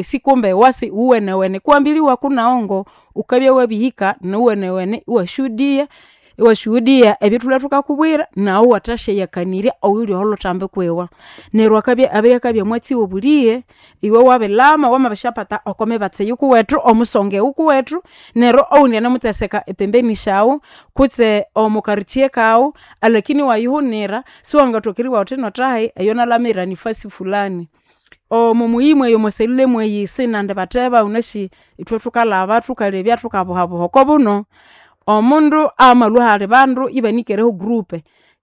Sikumbe wasi uwenewene kuambiliwa kunaongo ukabya wabihika nuwenewene iwashuhudiya iwashuhudiya ebyathulwe thukakubwira naghu iwathasyayakanirya oyuli okolhutambi kwiwa. Neryu akabya abiryakabya omwatsi wobulighe iwe wabilhama wamabisyaphata okomibatsi eyukuwethu omusonga eyukuwethu neryu owundi anemutheseka epembeni syaghu kutse omo quartier kaghu alakini iwayihunira siwangathoka eribugha wuthi nothahi eyo nalhamira nifasi fulani. Omo muyi mweyi omwa cellule mweyi sinandi bateba wunasi ithwe thukalhaba thukalebya thukabuhabuha okobuno. Omundu amalhwa ahali bandu ibanikereho group,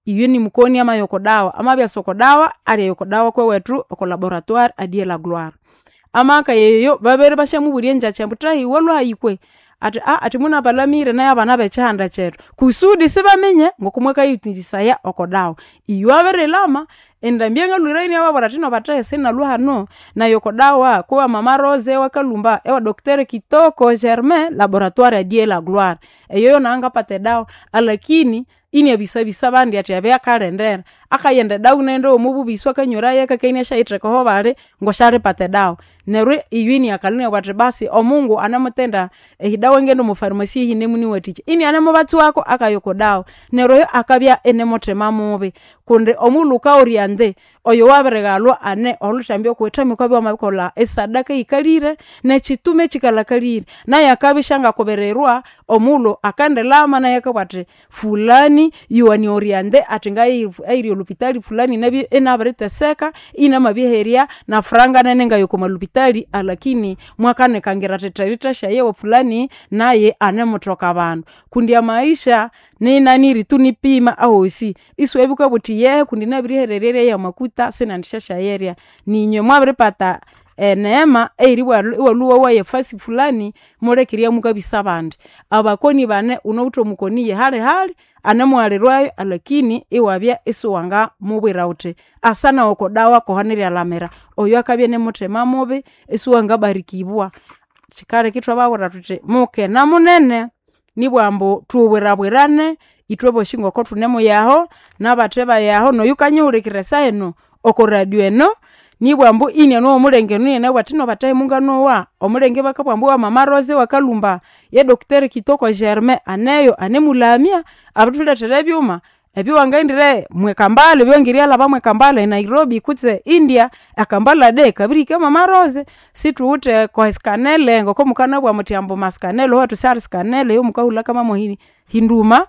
iyo nimukoni amaya okodawa, amabya okodawa alyaya okodawa kwewethu oko laboratoire a dieu la gloire. Amakaya eyo babere ibasyamubulya engyakya ambu thahi walhwahayi kwe? Athi athi munabalamire nayo abana bekyihanda kyethu kusudi isibaminya ngokumwakayithutsisaya okodawa. Iyo abirilhama endambi eyangalhwireyo inababwira athi inobathe sinalhwa hanu nayi okodawa kwewa mama Rose ewakalhumba ewa docteur Kitoko Germain laboratoire a dieu la gloire. Eyoyo nangapata edawa alakini iniabisabisa abandi athi abya akalendera. Akayenda edawa inaghenda yomububisi akanyweraya akakania inasyatheka ahobali ngwasyalipata edawa. Neryu iyo iniakalha inabugha athi basi omungu anemutenda ehidawa ingaghenda omwa pharmacy eyinemuniwathikya inianemubatswako akaya okodawa. Neryu oyo akabya inimuthima mubi kundi omughulhu wukagholya indi oyo wabirighalhwa ane olhuthambi okuwithemu wukabya wamabirikolha esadaka eyikalhire nekyitume ekyikalhakalhire. Nayu akabya isyangakubirirwa omughulhu akendilhama nayu akabugha athi fulani yuwanioriente athi ngaye eyiri olhupitali fulani nabye inabiriteseka inamabiherya nafranga nene ngayokomalhupitali alakini mwakanikangira athi therithasyaya ewa fulani naye anemuthoka abandu. Kundi amaisha ninaniri tu nipima ahosi isiwabya wukabugha wuthi yehe kundi nabirihererya erya yamakuta sinendisyasyayerya. Ninywe mwabiripata eneema eyeribugha iwalhwa iwowaya efasi fulani muleke eribya mukabisa abandi. Abakoni bane wunawithe omukoni yehalihali anemughalirwayu alakini iwabya isiwangamubwira wuthi asa nawu okodawa kuhanerialhamira. Oyo akabya inimuthima mubi isiwangabarikibwa. Kyikaleka ithwababwira thuthi mukene munene nibugha ambu thubwirabwirane ithwebosi ngoku thunemuyaho nabathe bayaho noyukanyihulhikirira esahenu oko radio eno nibugha ambu iniane womulenge enu inianabugha athi inobathahi munganowa omulenge bakabugha ambu wa mama Rose ewakalhumba ye docteur Kitoko Germain aneyo anemulhamya abirithulethera ebyuma ebyowangaghendire mwekambala ebyowangerialhaba mwekambala e Nairobi kutse India ekambala de kabirihika mama Rose. Sithuwithe oko scanele ngokomukanabugha muthi ambu mascanele owethu sihali scanele eyomukahulha kama hinduma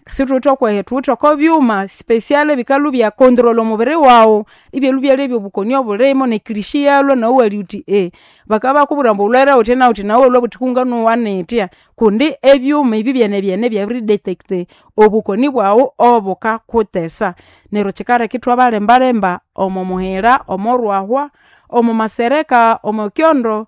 sithuwithe okweyo thuwithe okobyuma special ebikalhwa ibya control omubiri waghu ibyalhwa ibyalebya obukoni obulimo nekilishi iyalhwa naghu iwalebya wuthi bakabakubwira ambu wulhwere wuthya nawuthya nawu iwalhwa iwabugha wuthi kunganowa nithya kundi ebyuma ebi byenebyene byabiri detect obukoni bwaghu obukakuthesa. Neryu kyikaleka ithwabalembalemba omo muhira, omorwahwa, omo masereka, omo kyondo,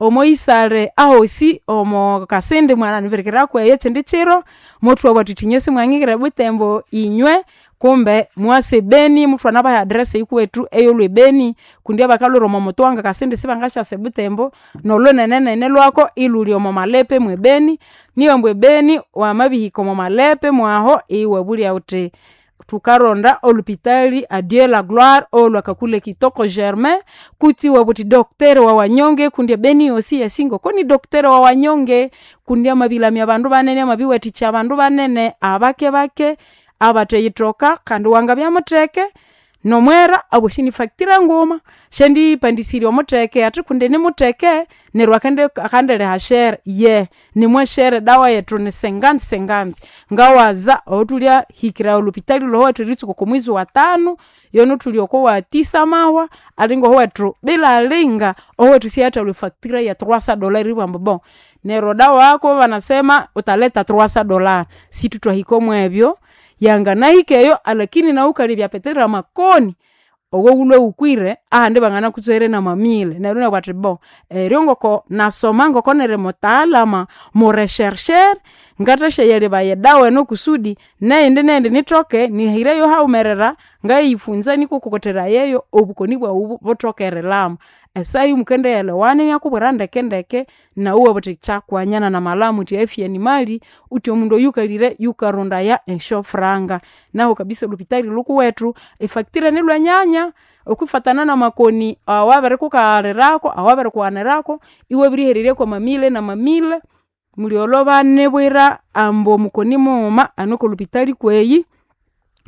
omo isale ahosi omo kasindi mwanganibirikira kweyo ekyindi kyiro mothwabugha thuthi inywe simwangingire ebutembo inywe kumbe mwasa ebeni muthwanabaha e address eyukuwethu eyolhwa ebeni kundi abakalhwira omo mutwanga kasindi sibangasyasa ebutembo nolhunenenene lwako ilhuli omo malepe mwebeni niyo ambu ebeni wamabihika omo malepe mwaho iwabulya wuthi thukaronda olhupitali a dieu la gloire olwa kakule Kitoko Germain kutsi iwabugha wuthi docteur wa wanyonge kundi ebeni yosi yasi ngoko ni docteur wa wanyonge kundi amabilhamya abandu banene amabiwathikya abandu banene abakebake abatheyithoka kandi wangabya mutheke nomwera abosi nifactura nguma syandipandisirya omutheke athi kundi nimutheke neryo akandiliha shere ye nimwashere edawa yethu ni cinquante cinquante. Ngawaza ohuthulya hikira olhupitali lhowethu eritsuka oko mwezi wa tanu yono thuli oko wa tisa mahwa alinga owethu bila alinga owethu siathalhwa efactura ya trois cents dollars eribugha ambu bon neryo dawa yako banasema wutaleta trois cents dollars sithutwahika omwebyo yanganahika eyo alakini nawu wukalebya petero amakoni owowulhwe wukwire ahandi banganakutswera namamile neryo inabugha athi bon eryo ngoko nasoma ngoko niri mutaalama mureshercher ngathasyayalebaya edawa eno kusudi neyindi neyindi nithoke nihireyo haghumerera ngayifunza nuku kukotherayeyo obukoni bwaghu buthoke erilhama. Esaha mukendiyelewana inakubwira ndekendeke nawu iwabugha wuthi kyakwanyana namalhama wuthi afya ni mali wuthi omundu oyukalhire yukarondaya esyofuranga. Nahu kabisa olhupitali lhukuwethu efactura nilhwenyanya. Okwifatana namakoni awabirikukaghalirirako, awabirikughanirako, iwabirihererya kwamamile namamile, mulyolho banibwira ambu omukoni mughuma ane okolhupitali kweyi,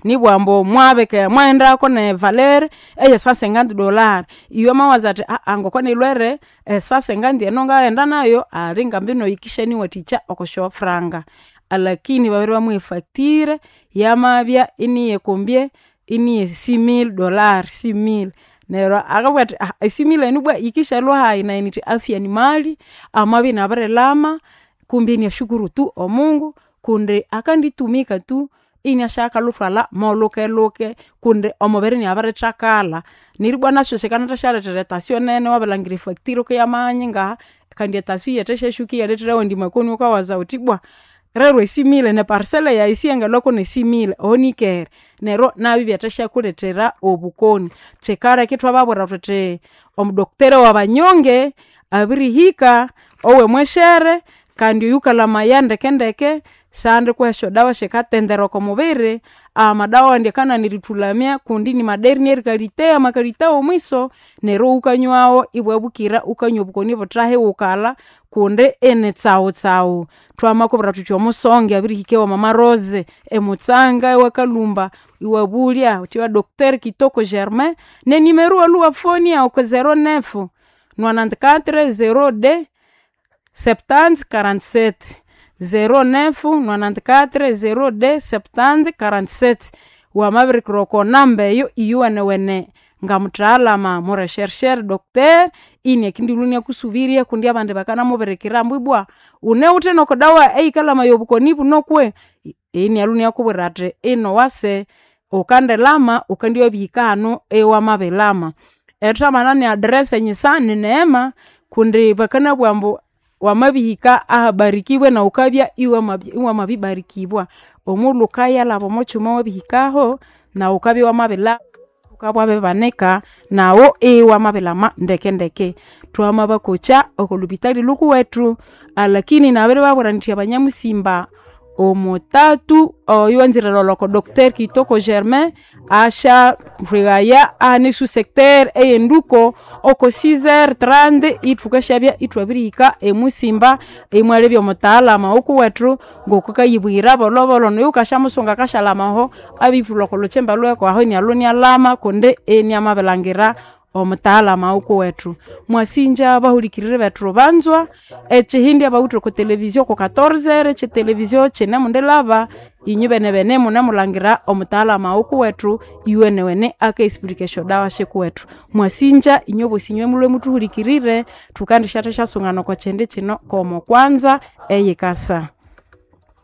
nibugha ambu mwabika mwaghendako ne valeur eye $150. Iwe wamawaza athi ngokunilhwere e 150 eno ngaghenda nayo ali ngambino yikisyanyiwathikya okwasyafuranga. Alakini babere bamuha e facture yamabya iniyekombye iniye $6000, 6000. Neryo akabugha athi e 6000 enu ibwa yikishyalhwa hayi? Nayi inithi afya ni mali, amabya inabirilhama kumbi inashukuru tu omungu kundi akanditumika tu inasyakalhuthwalha molhukelhuke kundi omubiri inabirithakala. Neribwa nasyu sikandithasyalethera e tension nene wabirilhangira e facture kuyamabya nyingaha kandi e tension iyathasyaswika iyalethera awandi makoni wukawaza wuthi ibwa rero e 6000 ne parcel yayi siyangalhwako ne 6000 oho nikere. Neryo nabyo ibyathasyakulethera obukoni. Kyikaleka ithwababwira thuthi omudoctor wabanyonge abirihika owemweshere kandi oyukalamaya ndekendeke siyandikuha esyodawa syikatendera okomubiri, amadawa awandi akananira erithulamya kundi nimadernier kalite, amakalite womwiso, neryo wukanywawo ibwabukira wukanywa obukoni ibuthahiwukalha kundi ini tsawutsawu. Thwamakubwira thuthi omusonge abirihika ewa mama Rose emutsanga ewakalhumba iwabulya wuthi wa doctor Kitoko Germain nenimero iwalhwa iwafonia oko 09 94 02 70 47, 09 94 02 70 47. Wamabirikira oko namba eyo iyuwenewene ngamuthalama mureshershere doctor iniakindilhwa iniakusubirya kundi abandi bakanamubirikira ambu ibwa wunawithe noko dawa eyikalamaya obukoni buno kwe? Inialhwa iniakubwira athi ino wase wukandilama wukandibya wabihika hanu iwamabilama. Ethamana ne address enyisa ni Neema kundi bakanabugha ambu wamabihika ahabarikibwe nawu wukabya iwamabibarikibwa. Omughulhu wukayalhaba omokyuma wabihikaho nawu wukabya iwamabila wukabya wabibanika nawu iwamabilama ndekendeke. Twamabakokya okolhupitali lhukuwethu alakini nabiribabwira indi abanyamusimba omutatu oyo wanzire erilholha oko doctor Kitoko Germain asyathwighaya ahane e sous-secteur eyenduko oko 6h30 ithukasyabya ithwabirihika emusimba imwalebya omutaalama wukuwethu ngokukayibuyira bolhobolho noyo wukasyamusunga akasyalhama aho abirithulha oko lhukyimba lhweko aho inialhwa inialhama kundi iniamabilhangira omutaalama wukuwethu. Mwasinja abahulikiriri bethu banzwa, ekyihindi abawithe oko televizio oko 14h ekyitelevizio kyinemundilhaba inywe benebene munemulhangira omutaalama wukuwethu iwenewene aka explica esyodawa syikuwethu. Mwasinja inywe bosi inywe mulhwe muthuhulikirire thukandisyathasyasunga oko kyindi kyino kw'omokwanza eyikasa.